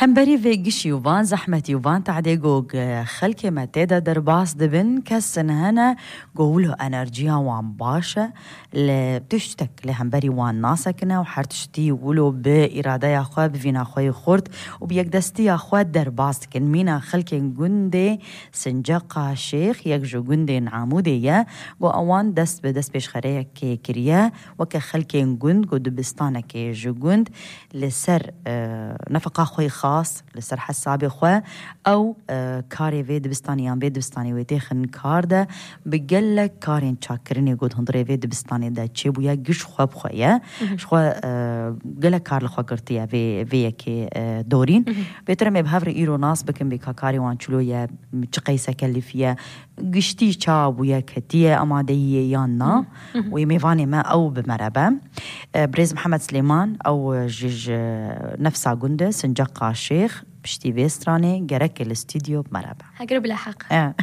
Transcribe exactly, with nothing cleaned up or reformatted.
Hemberî vê gişî û van zehmetî û van tadê ku xelkê me tê de derbas dibin, kesin hene ku wilo enerjiya wan baş e, li tiştek li hemberî wan nasekine û her tiştî wilo bi îradeya xwe, bi vîna xwe yê xurt û bi yekdestiya xwe derbas dikin. Mîna xelkên gundê Sinceqa Şêx, yek ji gundên Amûdê ye, ku ewan dest bi destpêşxereyekê kiriye, weke xelkên gund, ku dibistanekê ji gund li ser, e, nefeqa xwe yê xas, li ser hesabê xwe, ew, e, karê vê dibistanê yan vê dibistanê wê têxin kar de, bi gelek karên çakkirinê ku di hundirê vê dibistanê de çêbûye, giş xwe bi xwe ye. Ji xwe, e, gelek kar li xwe girtiye vê, vê yekê, e, dorîn. Bêtir em ê bi hev re îro nas bikin, bê ka karê wan çilo ye, çi qeyse kelifî ye, giştî ça bûye, ketiye amadeyiyê yan na. Wê mêvanê me ew bi me re be. E, Birêz Mihemed Silêman, ew ji, ji nefsa gund e, Sinceqa Şêx, piştî vê stranê gerek li stûdyo bi me re be. Heger bila heq. E.